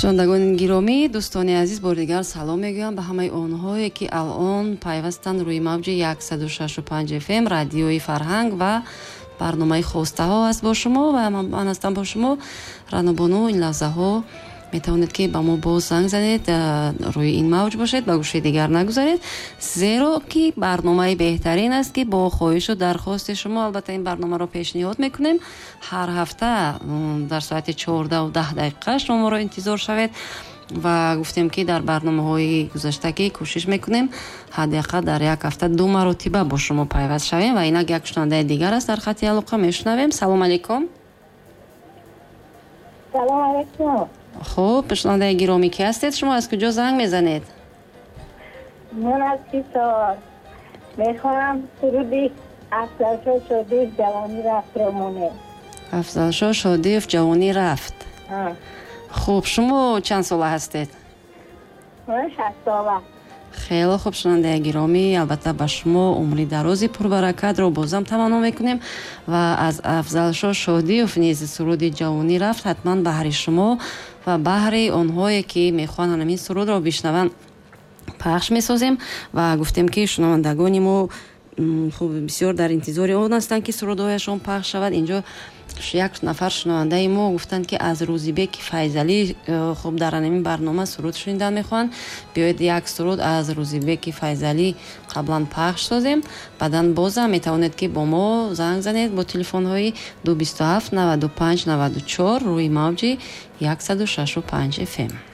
Шунавандагони гиромӣ, дӯстони азиз, бори дигар салом мегӯям ба ҳамаи онҳое, ки алон пайвастанд рӯи мавҷи 106,5 FM радиои Фарҳанг ва барномаи «Хостаҳо» аст бо шумо ва ман ҳастам бо шумо Ранобону. Ин лаҳзаҳо метавонед, ки ба мо боз занг занед, рӯи ин мавҷ бошед, ба гӯшаи дигар нагузаред, зеро ки барномаи беҳтарин аст, ки бо хоҳишу дархости шумо албатта ин барномаро пешниҳод мекунем. Ҳар ҳафта дар соати 14:10 шумо моро интизор шавед. Ва гуфтем, ки дар барномаҳои гузашта, ки кӯшиш мекунем ҳадди ақал дар як ҳафта ду маротиба бо шумо пайваст шавем. Ва инак як шунавандаи дигар аст дар хати алоқа, мешунавем. Салом алейкум. Салом алейкум. Хуб, шунавандаи гиромӣ, ки ҳастед шумо, аз куҷо занг мезанед? Ман аз Ҳисор. Мехоҳам суруди Афзалшо Шодиев «Ҷавонӣ рафт»-ро монем. Афзалшо Шодиев, «Ҷавонӣ рафт». Хуб, шумо чанд сола ҳастед? Ман 60 сола. Хеле хуб, шунавандаи гиромӣ, албатта ба шумо умри дарози пурбаракатро бозам таманно мекунем ва аз Афзалшо Шодиев низ суруди «Ҷавонӣ рафт» ҳатман баҳри шумо ва баҳри онҳое, ки мехоҳанд ҳамин сурудро бишнаванд, пахш месозем. Ва гуфтем, ки шунавандагони мо хуб бисёр дар интизори он ҳастанд, ки сурудҳояшон пахш шавад. Инҷо як нафар шунавандаи мо гуфтанд, ки аз Рӯзибеки Файзалӣ хуб дар ҳамин барнома суруд шунидан мехоҳанд. Биёед, як суруд аз Рӯзибеки Файзалӣ қаблан пахш созем, баъдан бозам метавонед, ки бо мо занг занед бо телефонҳои 227 95 94 рӯи мавҷи 106,5 FM.